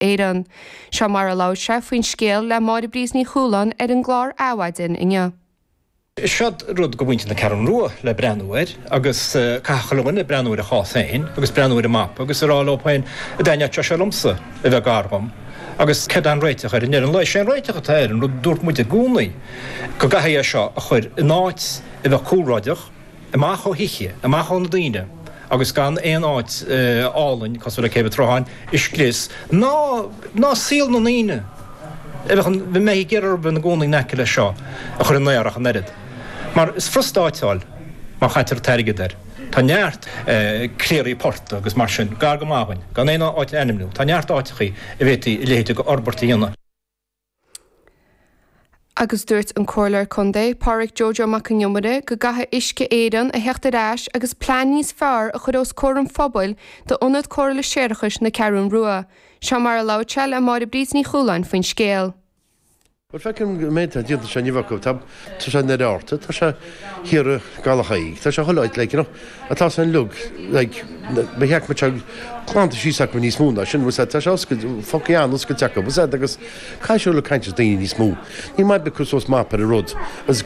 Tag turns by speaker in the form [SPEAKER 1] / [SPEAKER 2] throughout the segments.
[SPEAKER 1] Éireann. Seo mar a labhair sé faoin scéal le Máire Bríd Ní Chualáin ar an gclár Adhmhaidin inniu.
[SPEAKER 2] Seo rud do mhuintir na Ceathrún Rua le breathnú air agus caithfidh chuile dhuine breathnú ar a chás féin agus breathnú ar an mapa agus a rá leo féin an dtaitneodh sé liomsa a bheith gar dhom agus céard é an réiteach air i ndeireadh an lae. Sé an réiteach atá air, an rud a dúirt muid i gcónaí, go gcaithfidh é seo a chur in áit a bheadh cúlráideach, amach ó thithe, amach ó na daoine agus gan aon áit álainn cosúil le Céibh an tSrutháin a scrios, ná ná saol na ndaoine a bheadh a mbeidh ag iarraidh a bheith ina gcónaí in aice leis seo a chur i mbaol ach an oiread. Mar is furasta áiteáil má chaitear an t-airgead air. Tá neart cléirí portaigh agus mar sin gar go maith dhúinn, gan aon áit a ainmniú, tá neart áiteachaí a bhféadfaí a leithéid de fhorbairt a dhéanamh.
[SPEAKER 1] Agus dúirt an Comhairleoir Contae, Pádhraic Joe Joe Mac an Iomaire, go gcaithfidh Uisce Éireann a theacht ar ais agus plean níos fearr a chur os comhair an phobail d'Ionad Cóireála Séarachais na Ceathrún Rua. Seo mar a labhair sé le Máire Bríd Ní Chualáin faoin scéal.
[SPEAKER 3] Bhuel, feicim an méid atá déanta anseo inniu acu. Tá sé in Oirearta, tá sé thiar i gCaladh Thaidhg, tá sé chuile áit, like, you know, atá san uilig, like, ba cheart go mbeadh sé glanta síos acu níos mó ná sin, bhfuil tá sé oscailte, fágtha an-oscailte acu, bhfuil agus caithfidh siad le caint le daoine níos mó. Ní maith bith cur suas mapa ar an rud, agus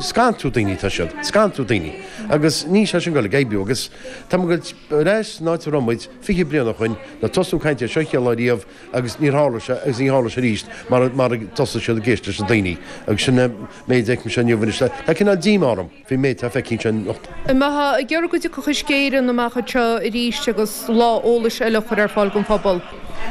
[SPEAKER 3] scanrú daoine atá siad, scanrú daoine, agus níl sé sin ag dul ag oibriú, agus tá muid ag dul ar ais san áit a raibh muid 20 bliain ó shoin, nuair tosú caint air seo chéad lá riamh, agus níor tharla sé agus ní tharla sé arís mar mar a dtosaigh siad ag éisteacht leis na daoine agus sin an méid a fheicimse inniu anois. Tá cineál díomá orm faoin méid atá feicthe anseo anocht.
[SPEAKER 4] An mbeifeá ag iarraidh go dtiocfadh Uisce Éireann amach anseo arís agus lá eolais eile a chur ar fáil don phobal?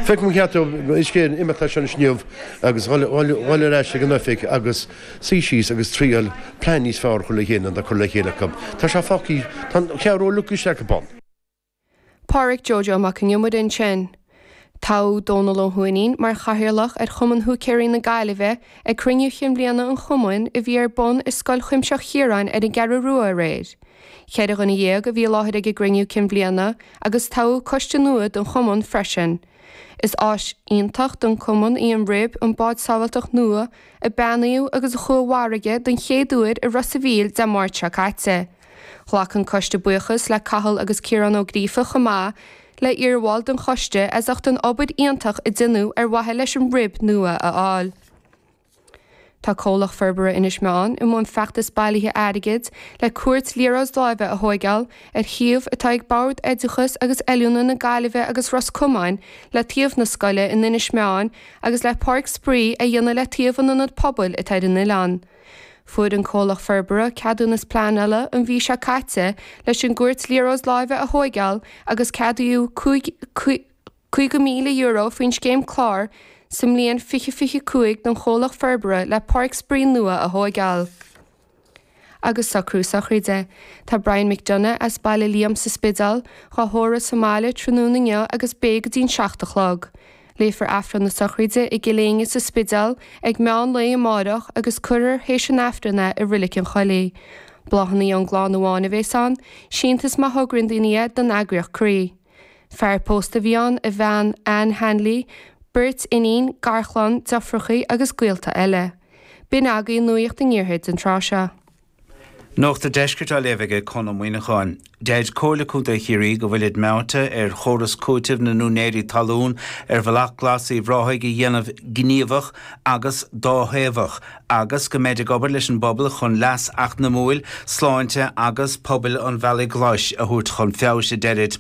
[SPEAKER 3] Feicim gur cheart do Uisce Éireann imeacht as seo anois inniu agus dhul ar ais ag an oifig agus suí síos agus triail plean níos fearr a chur le chéile ná atá curtha le chéile acu. Tá sé fágtha, tá an Cheathrú Rua uilig istigh acu ann.
[SPEAKER 1] Pádhraic Joe Joe Mac an Iomaire ansin. Toghadh Dónal Ó hUaithnín mar chathaoirleach ar Chumann Húicéirí na Gaillimhe ag cruinniú chinn bhliana an chumainn a bhí ar bun i Scoil Chuimsitheach Chiaráin ar an gCeathrú Rua aréir. 14 dhuine a bhí i láthair ag an gcruinniú cinn bhliana agus toghadh coiste nua don chumann freisin. Is áis iontach don chumann í an Rib, an bád sábháilteachta nua a beannaíodh agus a chuaigh i bhfarraige don chéad uair i Ros a' Mhíl Dé Máirt seo caite. Ghlac an coiste buíochas le Cathal agus Ciarán Ó Gríofa chomh maith le iarbhaill den choiste as ucht an obair iontach a deineadh ar mhaithe leis an Rib nua a fháil. Tá Comhlacht Forbartha Inis Meáin i mbun feachtas bailithe airgid le cúirt liathróid láimhe a thóigeáil ar shuíomh atá ag Bord Oideachais agus Oiliúna na Gaillimhe agus Ros Comáin le taobh na scoile in Inis Meáin agus le páirc spraoi a dhéanamh le taobh an ionad pobail atá ar an oileán. Fuair an comhlacht forbartha ceadúnas pleanála an mhí seo caite leis an gcúirt liathróid láimhe a thóigeáil agus ceadaíodh €50,000 faoin scéim clár sa mbliain 2025 don chomhlacht forbartha le páirc spraoi nua a thóigeáil. Agus socrú sochraide. Tá Brian McDonagh as Baile Liam sa Spidéal dhá thórramh sa mbaile tráthnóna inniu agus beidh go dtí'n 7 a chlog. Léifear Aifreann na sochraide i gCill Éinne sa Spidéal ag meán lae amárach agus cuirfear théis an Aifrinn é i Roilic an Choilligh. Bláthanna ón gclann amháin a bhéas ann, síntiús má thograíonn daoine é don eagraíocht Croí. Fear pósta a bhí ann, a bhean Anne Hanley, beirt iníon, garchlann, deirfiúrachaí agus gaolta eile. B'in agaibh nuacht an iarthair don tráth seo.
[SPEAKER 5] Nuacht an Deiscirt á léamh aige Conn Ó Muíneacháin. Deir Comhairle Contae Chiarraí go bhfuilid meáite ar chóras cúitimh na n-úinéirí talún ar Bhealach Glas Uíbh Ráthaigh a dhéanamh gníomhach agus dáthaobhach agus go mbeid ag obair leis an bpobal chun leas eacnamúil, sláinte agus pobail an Bhealaigh Ghlais a thabhairt chun feabhais, a deirid.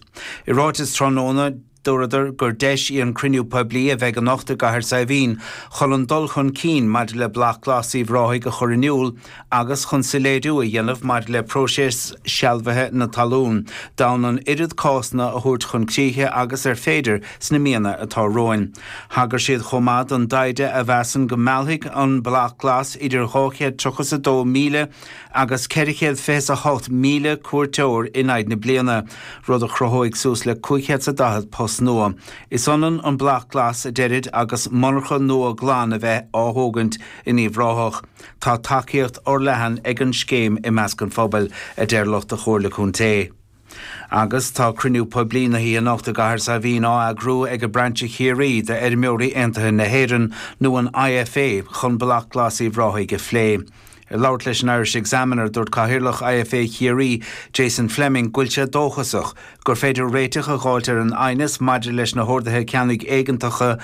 [SPEAKER 5] I ráiteas tráthnóna, Dúradar gur deis í an cruinniú poiblí a bheidh anocht i gCathair Saidhbhín chun an dul chun cinn maidir le Bealach Glas Uíbh Ráthaigh a chur in iúl agus chun soiléiriú a dhéanamh maidir le próiseas sealbhaithe na talún d'fhonn an oiread cásanna a thabhairt chun críche agus ar féidir sna míonna atá romhainn. Thagair siad chomh maith don dtaighde a mheasann go meallfaidh an Bealach Glas idir 232,000 agus 428,000 cuairteoir in aghaidh na bliana, rud a chruthóidh suas le 540 post nua. Is ionann an Bealach Glas, a deirid, agus monarcha nua glan a bheith á thógaint in Uíbh Ráthach. Tá tacaíocht fhorleathan ag an scéim i measc an phobail, a deir lucht an Chomhairle Contae. Agus tá cruinniú poiblí na hoíche anocht i gCathair Saidhbhín á eagrú ag Brainse Chiarraí d'Fheirmeoirí Aontaithe na hÉireann, nó an IFA, chun Bealach Glas Uíbh Ráthaigh a phlé. Ag labhairt leis an Irish Examiner, dúirt Cathaoirleach IFA Chiarraí, Jason Fleming, go bhfuil sé dóchasach gur féidir réiteach a dh'fháilt ar an aighneas maidir leis na horduithe ceannaigh éigeantacha.